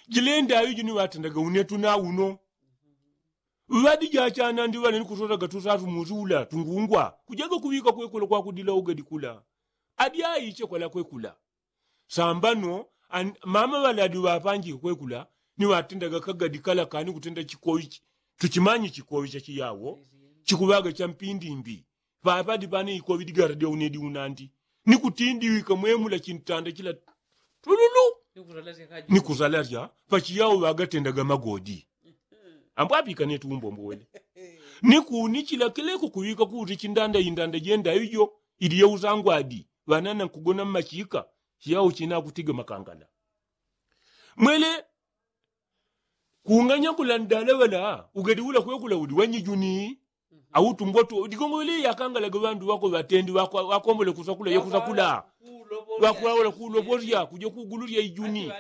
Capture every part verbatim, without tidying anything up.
Jilenda ayo jini watendaga unetu na uno. Ŵadi jachana ndi ŵale ni kusotaga tusatu musi ula tungungwa kujaga kuŵika kwekula kwakudila ugadi kula. Adi aiche kwala kwekula. Sambano mama ŵaladi ŵapanjike kwekula ni ŵatendaga kagadi kala kani kutenda chikoichi. Tuchimanyi chikoicha chiyawo chikuŵaga champindimbi. Ŵaŵadi ŵane ikoŵi digaradya unedi unandi ni kutindiwika mwemula chintanda chila tululu ni kusalarya. Pachiyawo ŵagatendaga magodi ambwapikane tumbombo wele ni kunichila kileko kuŵika kuti chindanda indanda jenda ijo ili yeusangwadi. Ŵanana nkugona mmachika chiyawo china akutiga makangala. Mwele kunganya kula ndala ŵala ugadi ula kwekula uli wanyijuni. Au tumboto digongo wele yakangalaga ŵandu ŵako ŵatendi ŵakombole kusakula yekusakula ŵakuwaula kulobolya kuja kugululya ijuni.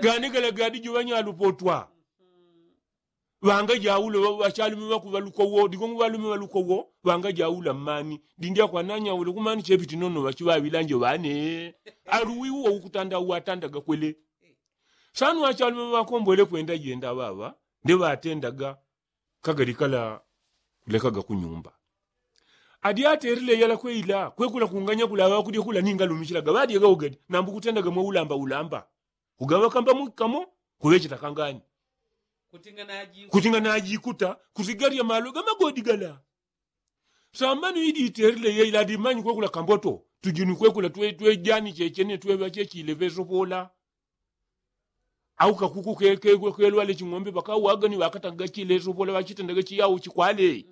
Gane gala gadi jo ŵanyalupotwa ŵangajaula ŵachalume ŵakuŵaluka uwo digongo ŵalume ŵaluka uwo. Ŵangajaula mmani dindi akwananyaula kumani chepiti nono ŵachiŵaŵilanje ŵane. Aluwi uwo ukutanda uwatandaga kwele. Sanu achalume ŵakombole kwenda jenda ŵaŵa nde ŵatendaga kagadi kala kulekaga kunyumba. Adi aterile yala kweila kwekula kunganya kula ŵakudya kula ningalumichilaga ŵadyaga ugadi nambu kutendaga mwaulamba ulamba. Ugaŵa kamba mwikamo kuŵecheta kangani. Kutinga najikuta kusigalya malo gamagodi gala. Sambano idi iterile yeila adi manyi kwekula kamboto tujuni kwekula twejani chechene tweŵa chechile ŵesopola. Au kakuku kelwale ching'ombe ŵakauwaga ni ŵakatagaga chileso pola ŵachitendaga chiyawo chikwale.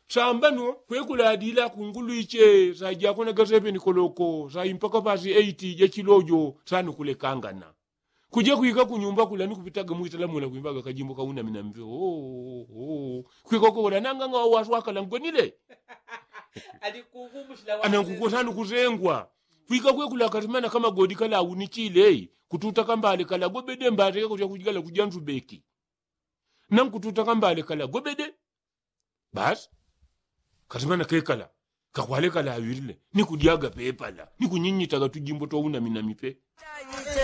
Sambano kwekuladila kungulu iche sajakonaga seveni koloko saimpaka pasi eiti jachilojo. Sano kulekangana kuja kwika kunyumba kula ni kupitaga mwitala mula kwimbaga kajimbo kauna minamve. Kwika kokola nanganga wawaswakala ngwenile. Anankukosa nukusengwa kwika kwekulakasimana kamagodi kalaunichile kututa kambale kalagobede mbale kakutya kujigala kuja nsubeki. Nankututa kambale kalagobede. Basi kasimana kekala kakwale kalawirile ni kudyaga pepala ni kunyinyitaga tujimbo twauna minamipe.